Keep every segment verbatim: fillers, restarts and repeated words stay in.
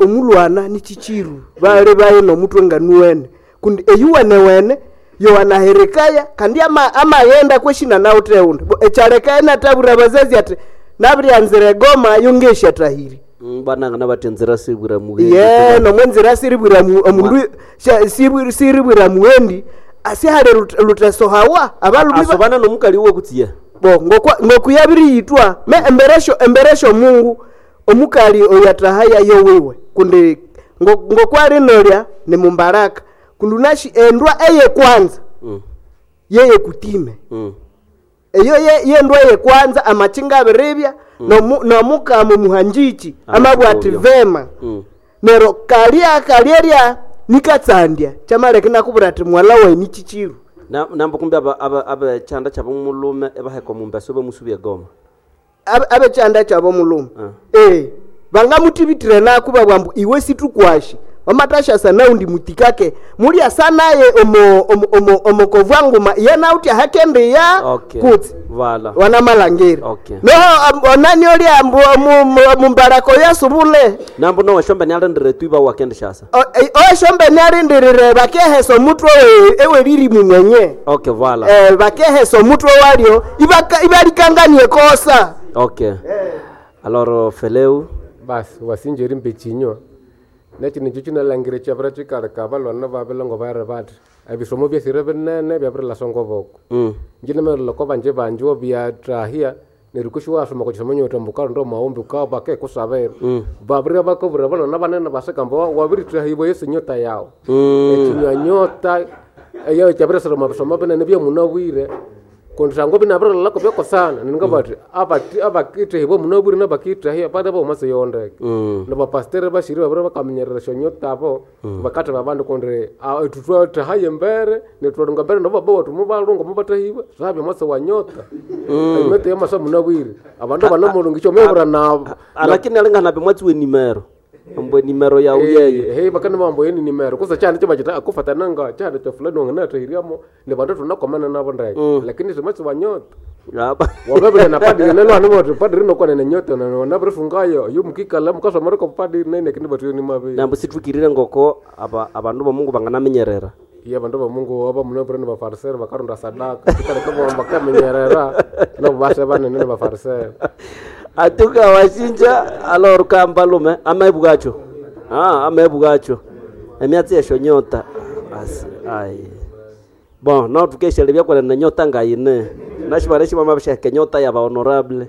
Omulwana ni chichiru bali baye nomutwe nganuwene kundi eyuwenewene yowanaherekaya kandi ama- amaghenda kweshina nawuthewundi Bo ekyaleka inatabwira abazazi ati nabiryanzira egoma yongesyathahiri. Mm, banangana bathi enzira sibwira muhendi. Ye nomwenzira siribwira mu- omundu sya- sibwi- siribwira muhendi asihali lut- lutesohawa abalumi ba- Asobana nomukali uwe kutsiya. Bo ngokwa- ngokuyabiriyithwa me emberesho emberesho Mungu omukali oyatahaya yowiwe kundi ngo- ngokwalinolya ni mumbaraka kundi unashi endwa eye kwanza Mm. yeye kutime. Mm. Eyo ye- yendwa ye kwanza amachinga abiribya nomu- nomukama omuhanjichi amabwa ati Amabwa. vema. Mm. Nero kalya kalyerya nikatsandya kyamaleka inakubwira ati mwala wayi ni chichiru. Na nambo kumbe aba aba abechanda kyabo mulume ebaheka omumbeso bamusubya egoma. Abe- abekyanda kyabo mulume. Ah. Eh, bangamuthibitire naku babugha ambu iwe situkwashi wamathashasa naundi mutikake mulyasa naye omo- omo- omo- omokovwa nguma iye nauthi ahakendiya. Okay. Kutsi Vala. wanamalangiri Okay. noho am- onani olya ambu omu- mu- mumbarako yasubule. Nambo noweshombe nialindire tu iba wakendishasa. Oweshombe nialindirire bakehesa omutwe we- eweririmu mwenye. Okay, vala. Eh, bakehesa omutwe walyo ibaka- ibalikanganie kosa. Okay. Alors Feleu Basi wasinja erimba ekinywa nekino ekyo kinalhangira ekyabira kikaleka abalwana babilongo bayiri bathi ebisomo byesire binene byabirilasa ngoboko. Mm. Nginemerera oko banji banji byathahya neryo kwisi iwasoma okwa kisomo nyothi ambu wukalonda omwawumbi wukabya bakekusabira. Babiribya bakabwira abalwana banene basika ambu wabirithahibwa eyisi nyota yawu. Ekinywa nyota eyo kyabirisira omwa bisomo binene byamunabwire kundi sangwa binabirilholako byakosana neryo ngabathi abathi abakithahibwa munabwire nabakithahya balebe omwatsi yondeke. Nabapasiteri basiri babiri bakaminyerera esyonyota abo bakatheba abandu kundi ithwe thwathahaya embere neryo thwalhunga embere nabo babawathu mubalhunga mubathahibwa syabya omwatsi wa nyota. Enyota yamasa munabwire abandu banamulhunga wamabwira nabo. Lakini alingana mwatsi we nimero. Ambu nimero yawu yeyo. Ehe bakanibugha ambu eyi ni nimero kutse ekyihanda kyabakyita akufatana nga kyihanda kya fulani wanganathahiryamu nibandu thunakwamana nabo ndeke lakini si mwatsi wa nyota. Aba- Wamabirya na padiri nelwana uthi padiri nokwanene nyota nabirisungayo oyo mukikalha mukasomera oko padiri nene kindi bathu nimabi. Nambo sithukirire ngoko aba abandu bomungu banganaminyerera. Iya abandu bomungu abamunabwire nibafariseri bakaronda sadaka kikaleka ibabugha ambu bakaminyerera nabo base banene nibafariseri. Atuka washinja alors kambalume amebwacho. Ah, amebwacho. Emyatsi yesho nyota. Asi ai. Bon, no tukesha byakwana na nyota ngayine. Nashibara shima mabishaka nyota ya ba honorable.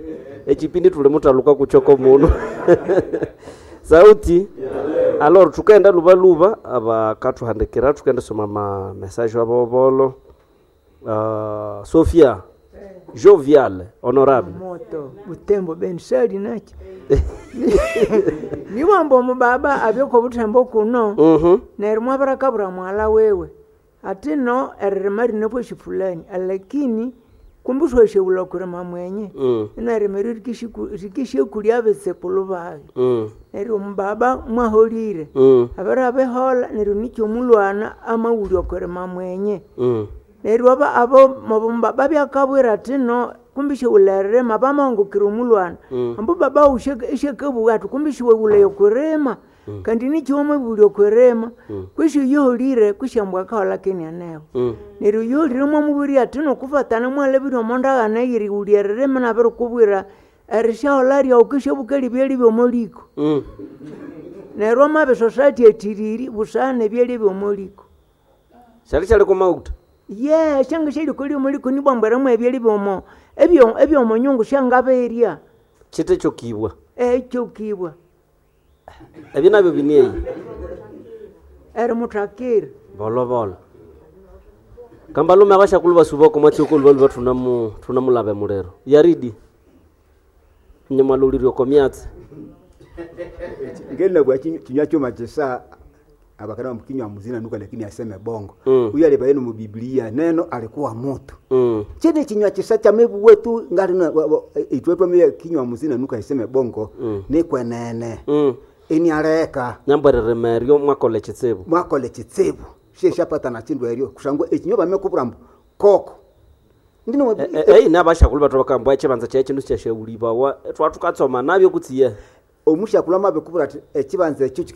Echipindi tuli mutaluka kuchoko muno. Sauti. Alors tukaenda luba luba abakathuhandikira tukaenda soma ma message abobolo. Uh, Sophia Jovial honorable. Moto butembo beni sali nakyo niwamba omubaba abyoko obuthembo kuno. Mhm. Neryo mwabirakabura mwala wewe ati no eririma rino bwesi fulani alakini kumbi thwasyaghulha okwirima mwenye. Mm. Inarimiro rikisyakulya abitsikulhu bayi. Mm. Neryo omubaba mwaholire. Mm. Abiri abiholha neryo nikyo omulwana amawulya okwirima mwenye. Mm. Neryo aba abo omubaba abyakabwira athi no kumbi syaghulha eririma bamahungukira omulwana. Ambu baba wawu isyakabugha athi kumbi siwaghulaya okwirima kandi nikyo wamabulya okwirima kwisi oyoholire kwisi ambu akaholha kinianeho. Mm. Neryo oyoholire mwamubwira athi nokufatana mwalhabirye omo ndagano eyerighulya eririma nabirikubwira erisyaholha ryawu kwisi obukalhi ebyalya byomo liko. Mm. Neryo amabisosya athi athiriri busana ebyalya byomo liko. Syali syali kumauta. Ye syanga syalikolya omo liko nibwa ambu erimu ebyalya byomo ebyo ebyomonyungu syangabirya. Chite kyokibwa. Ekyokibwa. Ebyo nabyo binieyi. Erimuthakira. Bolobolo. Kambalume abashakulhu basuba omwatsi okolubaluba thunamu thunamulaba emuliro. Yaridi. Nyamwalulirya oko myatsi. Ngenabwa kinywa chuma chisa abakana mkinywa muzina nuka lakini aseme bongo. Mm. Huyu alibaye mu Biblia neno alikuwa moto. Mm. Chene kinywa chisa cha mebu wetu ngali na itwetwa mye kinywa muzina nuka iseme bongo. Mm. Nikwenene. Mm. Ini areka Nyambwereremeryo mwakola ekitsibu. mwakole chitsibu. Sheshapata na chindu eryo kushangwa ekinywa bamekubura mbu koko. Ndino Eyi nabashakulhu bathu bakamba ekibanza kyayi kindu sikyasyaghulibwawa thwathukatsoma nabyo kutsiye. Omushakulhu amabikubwira athi ekibanza ekyo kikisya